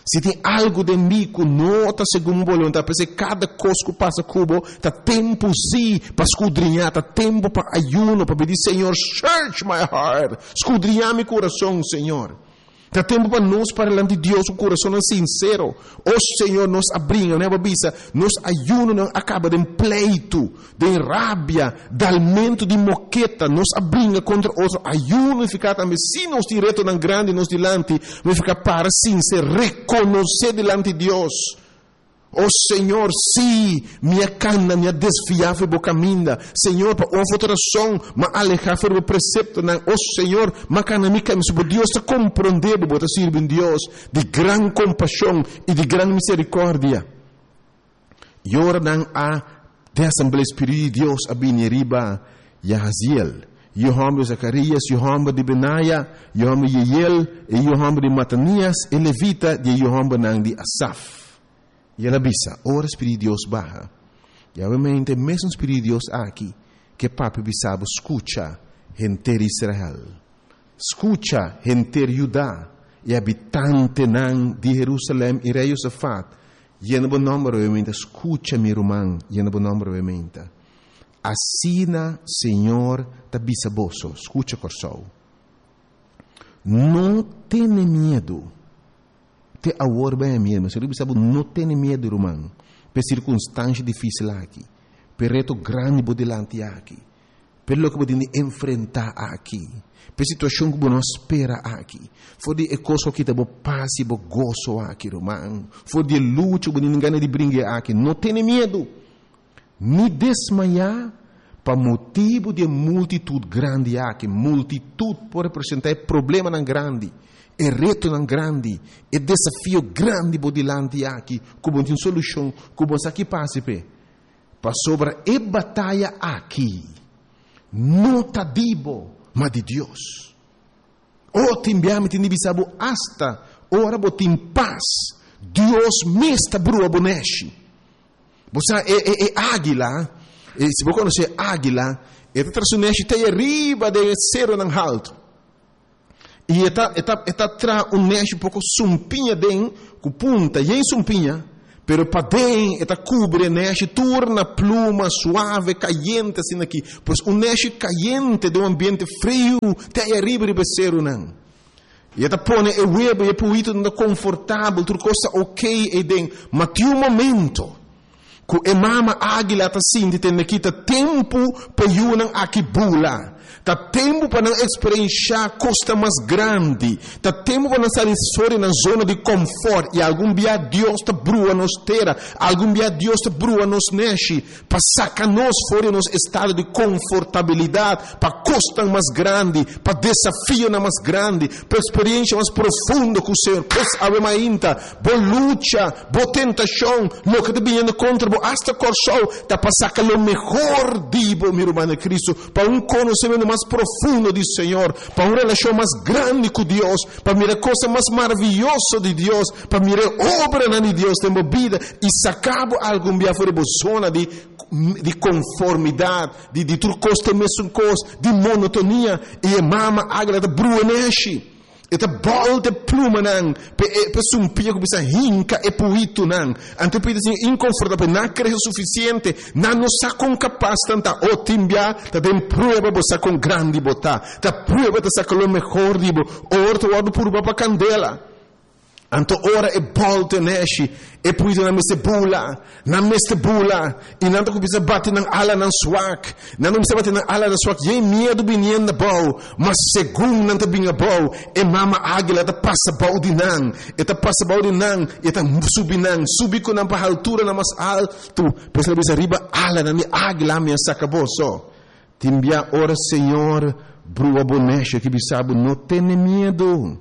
Si tin algu den mi ku no ta segun bo boluntat, p'esei kada kos ku pasa ku bo ta tempu sí pa skudriñá, ta tempu pa ayuno, pa pidi, Señor, search my heart, skudriñá mi kurason, Señor. Ta tempu pa nos para dilanti Dios ku kurasonnan sinsero. O Señor, nos a bringa, nos a bisa, nos ayunonan a kaba den pleitu, den rabia, dalmentu di moketa, nos a bringa kontra otro. Ayuno nifiká tambe si nos tin retonan grandi nos dilanti, nifiká para sinser, rekonosé dilanti Dios. O Señor, sí, mi a cana, mi a desviá for bo caminda. Señor, pa un of otro razon, m'a alehá for bo preceptonan. O Señor, m'a cana mi camino. Si bo Dios ta comprendé bo, bo ta sirbi un Dios di gran compasion i di gran misericordia. I ora nan a den asamblea, Spiritu di Dios a bini riba Jahaziel, yu homber di Zacarías, yu homber di Benaya, yu homber di Jeiel, e yu homber di Matanias, e levita di e yu hombernan di Asaf. I el a bisa, Ora Spiritu di Dios baha, i awemente e mesun Spiritu di Dios aki ke papia bisa bo, Skucha, henter Israel, skucha, henter Juda, i habitantenan di Herusalèm i rei Josafat, yena bo nòmber awemente, skucha, mi ruman, yena bo nòmber awemente. Asina Señor ta bisa boso, skucha, Kòrsou, no tene miedu. Te awor bay a miedu. Señor bisa bo no tene miedu ruman p'e sirkunstansha difisil aki, p'e reto grandi bo dilanti aki, p'e loke bo tin di enfrentá aki, p'e situashon ku bo no a spera aki. For di e kos ku a kita bo pas i bo goso aki ruman, for di e lucha ku bo tin gana di bringa aki, no tene miedu, ni desmayá pa motibu di e multitut grandi aki. Multitut por representá e problemanan grandi, e retonan grandi, e desafio grandi bo dilanti aki ku bo no tin solushon, ku bo sa ki pasa p'e. Pasobra e bataya aki no ta di bo, ma di Dios. O, tin bia mi tin di bisa bo, asta ora bo tin pas. Dios mes ta brua bo nèshi. Bo sa e e e águila, e, si bo konosé águila, e ta traha su nèshi te ariba den e seronan haltu. I e ta e ta e ta traha un nèshi poko sumpiña den ku punta yen sumpiña, pero paden e ta kubri e nèshi tur na pluma suave kayente asina aki. Pues un nèshi kayente den un ambiente friu te ariba riba e serunan. I e ta pone e webu i e puitunan ta konfortabel, tur kos ta okey eiden. Ma tin un momento ku e mama águila ta sinti tende ki ta tempu pa e yunan aki bula. Ta tempu pa nan eksperenshá kosnan mas grandi. Ta tempu pa nan sali for di nan zona di kòmfòrt. I algun bia Dios ta brua nos tera, algun bia Dios ta brua nos nèshi pa saka nos for di nos estado di konfortabilidat pa kosnan mas grandi, pa desafionan mas grandi, pa eksperensha mas profundo ku Señor. Pues awe mainta, Bo lucha, bo tentashon, loke ta biniendo kontra bo, asta Kòrsou, ta pa saka lo mehor di bo, mi ruman den Kristu, pa un konosementu mas profundo di Señor, pa un relashon mas grandi ku Dios, pa mira kosnan mas maravioso di Dios, pa mira e obranan di Dios den bo bida i saka bo algun bia for di bo zona di di konformidat, di di tur kos ta e mesun kos, di monotonia, i e mama águila ta brua neshi. E ta bòlta e plumanan pa e pa e sumpia ku bisa hinka e puitunan. Anto e puitu sin inkonfortabel, nan a krese sufisiente, nan no sa kon kapas nan ta. O tin bia ta den prueba bo sa kon grandi bo ta. Ta prueba ta saka lo mehor di bo. Ora ta wòrdu purba pa kandela. Anto ora e bòlta e nèshi, e puitunan mester bula. Nan mester bula, i nan ta kuminsá bati nan alanan swak. Nan ta kuminsá bati nan alanan swak, yen miedu biniendo abou. Ma segun nan ta bini abou, e mama águila ta pasa bou di nan. E ta pasa bou di nan, i e ta subi nan, subi ku nan pa halturanan mas altu. Pues el a bisa, Riba alanan di águila mi a saka boso. Tin bia ora Señor brua bo nèshi aki bisa bo, No tene miedu.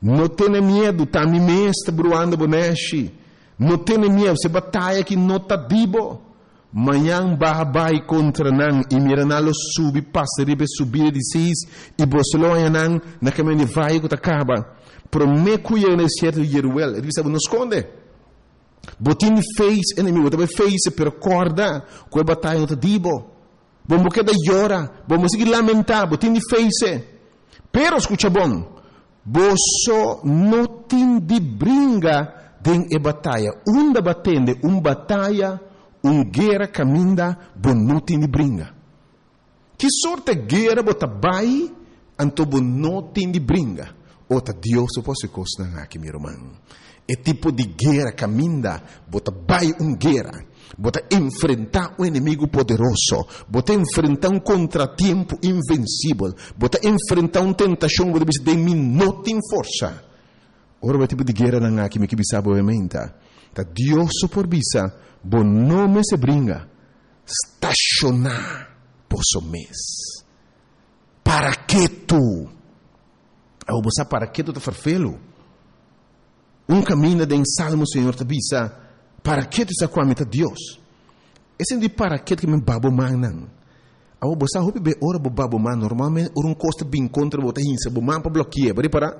No tene miedu, ta mi mes ta bruando bo nèshi. No tene miedu, se bataya aki no ta di bo. Mañan baha bai kontra nan i mira nan lo subi pasa riba e subida di Sis i boso lo haña nan na kaminda di vaye ku ta kaba. Promé ku yega na desierto di Jeruel, e ta bisa bo, No skonde. Bo tin di face enemigu, bo ta bai face, pero kòrda ku e bataya no ta di bo. Bo no keda yora, bo no sigui lamentá, bo tin di face. Pero skucha bon, boso no tin di bringa den e bataya. Unda bo a tende un bataya, un guera kaminda bo no tin di bringa? Ki sorte guera bo ta bai anto bo no tin di bringa? O ta Dios bo por hasi kosnan aki, mi ruman. E tipo di guera kaminda bo ta bai un guera, bo ta enfrentá un enemigu poderoso, bo ta enfrentá un kontratiempo invensibel, bo ta enfrentá un tentashon, bo ta bisa, Den mi no tin forsa. Ora bo e tipo di gueranan aki, mi ke bisa bo menta, ta Dios so por bisa, bo no mester bringa, stashoná boso mes. Para ketu. Awor bo sa para ketu ta ferfelu. Un kaminda den Salmo Señor ta bisa, Para ketu sa ku ami ta Dios. E sentí para ketu ke mi ba bo mannan. Awor bo sa hopi be ora bo ba bo man, normalmente ora un kos ta bin kontra bo ta hinsa bo man pa bloki'é. Bo ripará?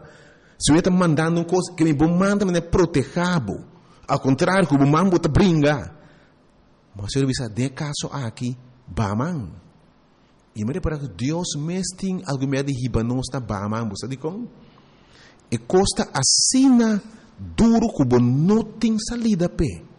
Si un ta mandando un kos, ke mi bo man ta manera protehá bo. Al kontrario ku bo man bo ta bringa. Ma Señor a bisa, den e kaso aki, ba man. I mi repará ku Dios mes tin algun mea di hiba nos na Bahaman. Bo sa dikon? E kos ta asina duru ku bo no tin salida p'e.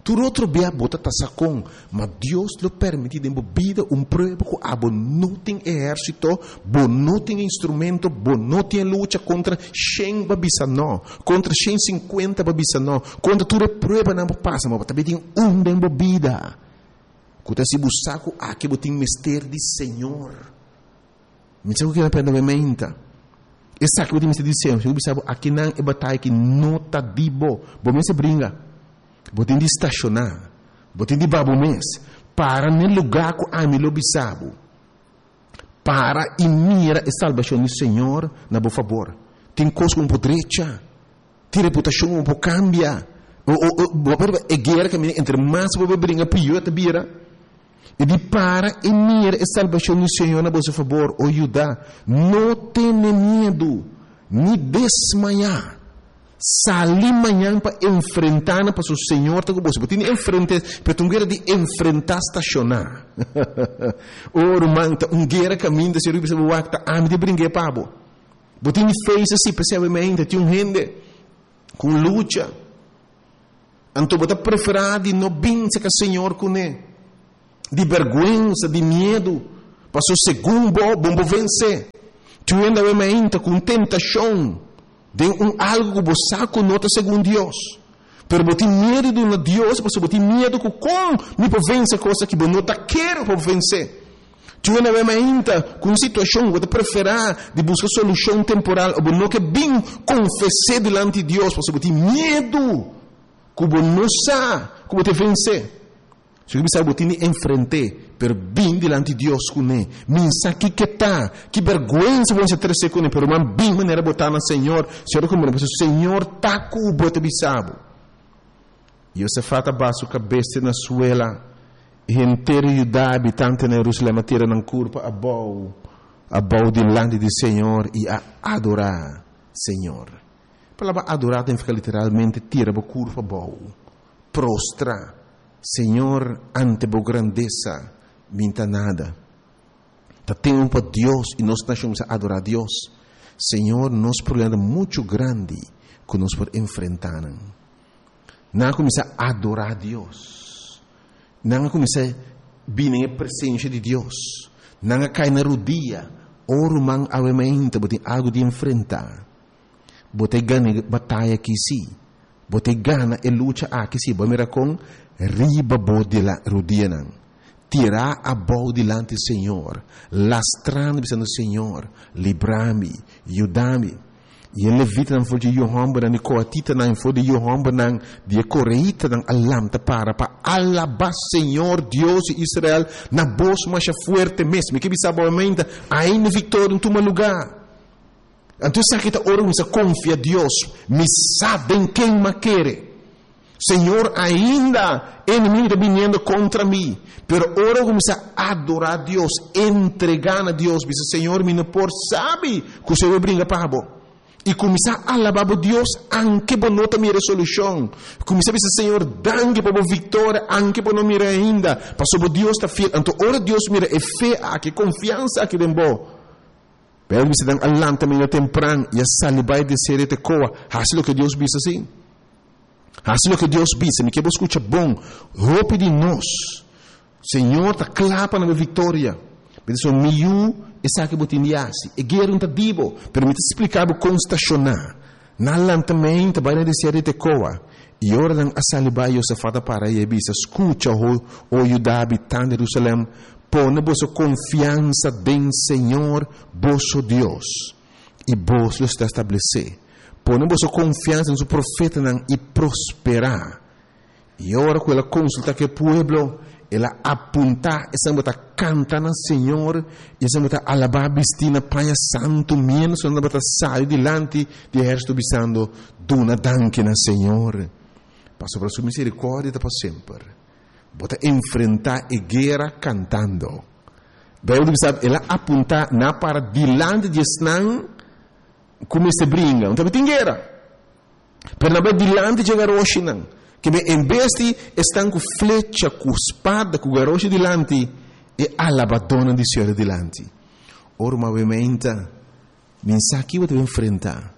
Tur otro bia bo ta tasa kon, ma Dios lo permití den bo bida un prueba ku abo no tin ehérsito, bo no tin instrumento, bo no tin e lucha kontra shen bo a bisa nò, kontra shen sinkuenta bo a bisa nò, kontra tur e pruebanan bo pasa, ma bo ta bin tin un den bo bida. Ku ta si bo sa ku aki bo tin mester di Señor. Mi sa ku keda prende bo menta. Esaki bo tin mester di Señor. Si bo bisa bo akinan e bataya aki no ta di bo. Bo mester bringa. Bo tin di stashoná. Bo tin di ba bo mes. Para n'e lugá ku ami lo bisa bo. Para i mira e salbashon di Señor na bo fabor. Tin kos ku bo por drecha. Tin reputashon ku bo por kambia. O, o, o, bo por e guera kaminda entre mas bo por bringa pió e ta bira. E di para i mira e salbashon di Señor na boso fabor, o Judá. No tene miedu, ni desmayá. Sali mañan pa enfrentá nan pasobra Señor ta ku boso. Bo tin di enfrent'é, pero ta un guera di enfrentá stashoná. O ruman, ta un guera kaminda Señor a bisa bo wak, ta ami ta bring'é pa bo. Bo tin di face así, p'esei awe mainta tin un hende ku un lucha. Anto bo ta preferá di no bin serka Señor kuné, di bèrgwensa, di miedu, pasobra segun bo, bo no por vensé. Tin un hende awe mainta ku un tentashon den un algu ku bo sa ku no ta segun Dios, pero bo tin miedu di duna Dios pasobra bo tin miedu ku kon mi por vense kos aki, bo no ta kere pa bo vensé. Tin un awe mainta ku un situashon ku bo ta preferá di buska solushon temporal o bo no ke bin konfes'é dilanti Dios pasobra bo tin miedu ku bo no sa ku bo ta vensé. Si bo bisa bo tin di enfrent'é, pero bin dilanti Dios kuné. Min sa ki ke ta, ki bèrgwensa bo mester trese kuné, pero man bin manera bo ta na Señor, Señor ta kumprende pasobra Señor ta ku bo, e ta bisa bo. Yosafat a baha su kabes te na suela, i henter Yudá habitante na Jerusalèm a tira nan kurpa abou, abou dilanti di Señor i a adorá Señor. E palabra adorá ta nifiká literalmente tira bo kurpa abou, prostra. Señor, ante bo grandesa mi ta nada. Ta tempu pa Dios i nos nashon kuminsá adorá Dios. Señor, nos problema ta muchu grandi ku nos por enfrentá nan. Nan a kuminsá adorá Dios. Nan a kuminsá bini den e presensia di Dios. Nan a kai na rudia. O ruman, awe mainta bo tin algu di enfrentá. Bo ta gana e bataya aki sí. Bo ta gana e lucha aki sí. Bo a mira kon riba bo rudianan, tirá abou dilanti Señor, lastrando bisando, Señor, libra mi, yuda mi. I e levitanan for di e yu hòmbernan di koatitanan i for di e yu hòmbernan di e koreitanan a lanta para pa alabá Señor, Dios di Israel, na bos masha fuerte mes. Mi ke bisa bo awe, ainda viktoria no tuma lugá. Anto esaki ta ora mi sa konfia Dios, mi sa den ken m'a kere. Señor, ainda enemigo ta biniendo kontra mi, pero ora ku mi sa adorá Dios, entregá na Dios, bisa, Señor, mi no por sabi ku Señor bringa pa bo. I kuminsá alabá bo Dios anke bo no ta mira e solushon. Kuminsá bisa, Señor, danki pa bo viktoria anke bo no mira ainda, pasobra bo Dios ta fiel. Anto ora Dios mira e fe aki, e konfiansa aki den bo, Pero bisa nan a lanta medio tempran i a sali bai den serie Tekoa. Hasi loke Dios bisa si. Hasi loke Dios bisa. Mi ke bo skucha bon. Hopi di nos, Señor ta kla pa nan viktoria. Mi ta so mi yu, esaki bo tin di hasi. E guera no ta di bo, pero mi ta splika bo kon stashoná. Nan lanta meinta bai na desierto di Tekoa. I ora nan a sali bai, Josafat a para i a bisa, Skucha, o Juda habitante di Jerusalèm, pone boso konfiansa den señor boso Dios, i boso lo sta establesé. Pone boso konfiansa den su profetanan i prosperá. I ora ku el a konsultá ku e pueblo, el a apuntá esnan ku ta kanta na Señor i esnan ku ta alabá bistí na paña santu, miéntras ku nan tabata sali dilanti di e ehérsito bisando, Duna danki na Señor, pasobra su miserikòrdia ta pa semper. Bo ta enfrentá e guera kantando. Beibel ta bisa, El a apuntá nan para dilanti di esnan ku mester bringa. No tabatin guera. Pero nan bai dilanti dje garoshinan, ke be en bes di esnan ku flecha, ku spada, ku garoshi dilanti, e alabadónan di Señor dilanti. Ora bo a menta, mi sa ki bo ta enfrentá.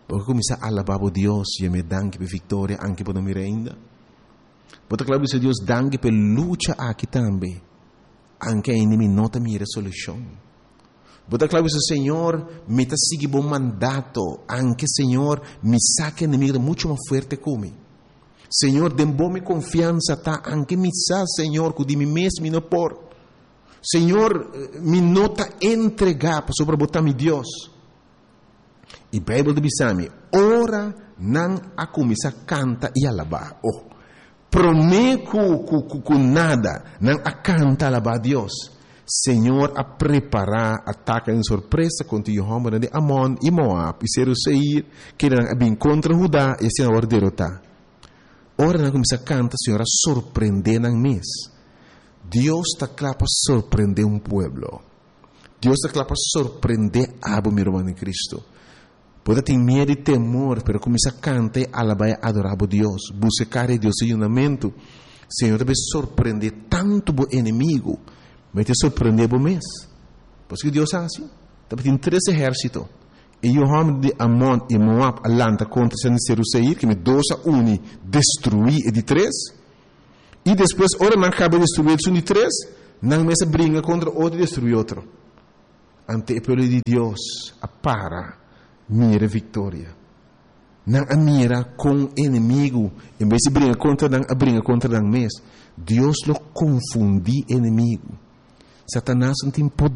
Bo a kuminsá alabá bo Dios, yam'é danki p'e viktoria, anke bo no mira ainda. Bo ta kla bisa Dios danki p'e lucha aki tambe, anke ainda mi no ta mira e solushon. Bo ta kla bisa, Señor, mi ta sigui bo mandato, anke, Señor, mi sa ku enemigu ta muchu mas fuerte ku mi. Señor, den bo mi konfiansa ta, anke mi sa, Señor, ku di mi mes mi no por. Señor, mi no ta entregá, pasobra bo ta mi Dios. I Beibel ta bisa mi, ora nan a kuminsá kanta i alabá, oh, promé ku ku ku nada, nan a kanta alabá Dios. Señor a prepará ataka den sorpresa kontra yu hòmbernan di Amon i Moab i seru Seir, kendenan a bin kontra Hudá i asina a wòrdu derotá. Ora nan a kuminsá kanta, Señor a sorprendé nan mes. Dios ta kla pa sorprendé un pueblo. Dios ta kla pa sorprendé abo, mi ruman den Cristo. Bo ta tin miedu i temor, pero kuminsá kanta i alabá i adorá bo Dios. Buska kara di Dios den yunamentu. Señor ta bai sorprendé tantu bo enemigu, ma e ta sorprendé bo mes. Pasobra ki Dios a hasi? Tabatin tres ehérsito. E yu hòmber di Amon i Moab a lanta kontra esnan di Seru Seir, kende dos a uni destruí e di tres. I despues, ora nan kaba destruí esun di tres, nan mes a bringa kontra otro i destruí otro. Anto e pueblo di Dios a para mira e viktoria. Nan a mira kon enemigu, en bes di bringa kontra nan, a bringa kontra nan mes. Dios lo konfundí enemigu. Satanas no tin poder.